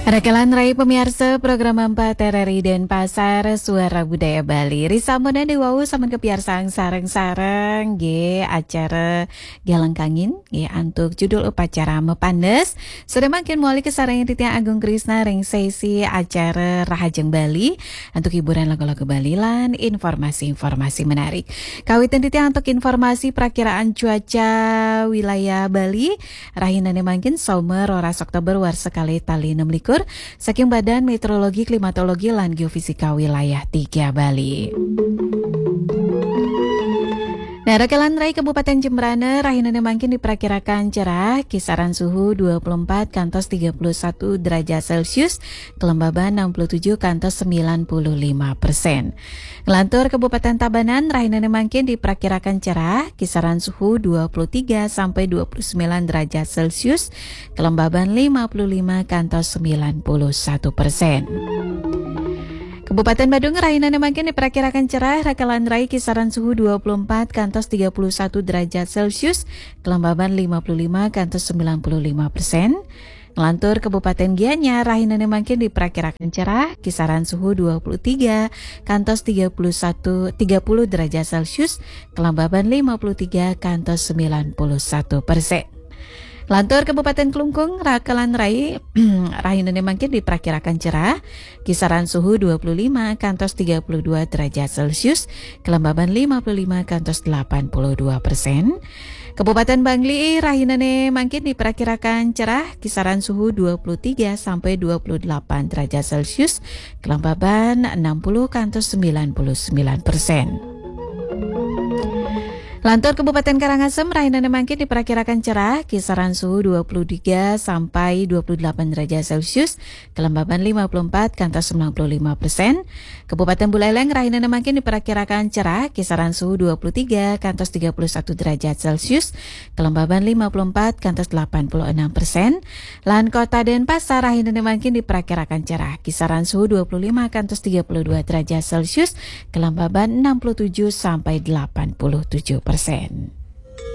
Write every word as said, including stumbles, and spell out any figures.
Rakalan rai pamiarsa program empat R R I Denpasar, Suara Budaya Bali. Risampun dening wau sampun kapiarsang sareng-sareng nggih acara Galeng Kangin nggih antuk judul upacara Mapandes. Sudah mangkin mawali kasarengin titiang Agung Krisna ring sesi acara Rahajeng Bali antuk hiburan lagu-lagu Bali lan informasi-informasi menarik. Kawitin titiang antuk informasi prakiraan cuaca wilayah Bali. Rahinane mangkin Soma roras Oktober warsa kalih tali enam likur saking Badan Meteorologi, Klimatologi, lan Geofisika Wilayah tiga Bali. Nah, rakalan rai Kabupaten Jembrana, rahinane mangkin diperkirakan cerah, kisaran suhu dua puluh empat kantos tiga puluh satu derajat Celcius, kelembaban enam puluh tujuh kantos sembilan puluh lima persen. Nglantur Kabupaten Tabanan, rahinane mangkin diperkirakan cerah, kisaran suhu dua puluh tiga sampai dua puluh sembilan derajat Celcius, kelembaban lima puluh lima kantos sembilan puluh satu persen. Kabupaten Badung, rahinane mangkin diperkirakan cerah, rakalan rai kisaran suhu dua puluh empat kantos tiga puluh satu derajat Celcius, kelembaban lima puluh lima kantos sembilan puluh lima persen. Nglantur Kabupaten Gianyar, rahinane mangkin diperkirakan cerah, kisaran suhu dua puluh tiga kantos tiga puluh satu, tiga puluh derajat Celcius, kelembaban lima puluh tiga kantos sembilan puluh satu persen. Lantur Kabupaten Klungkung, rakalan rai, rahinane mangkin diperkirakan cerah, kisaran suhu dua puluh lima kantos tiga puluh dua derajat Celcius, kelembaban lima puluh lima kantos delapan puluh dua persen. Kabupaten Bangli, rahinane mangkin diperkirakan cerah, kisaran suhu dua puluh tiga sampai dua puluh delapan derajat Celcius, kelembaban enam puluh kantos sembilan puluh sembilan persen. Lantur Kabupaten Karangasem, rahinane mangkin diperkirakan cerah, kisaran suhu dua puluh tiga sampai dua puluh delapan derajat Celcius, kelembaban lima puluh empat kantos sembilan puluh lima persen. Kabupaten Buleleng, rahinane mangkin diperkirakan cerah, kisaran suhu dua puluh tiga kantos tiga puluh satu derajat Celcius, kelembaban lima puluh empat kantos delapan puluh enam persen. Lan Kota Denpasar, rahinane mangkin diperkirakan cerah, kisaran suhu dua puluh lima kantos tiga puluh dua derajat Celcius, kelembaban enam puluh tujuh sampai delapan puluh tujuh persen.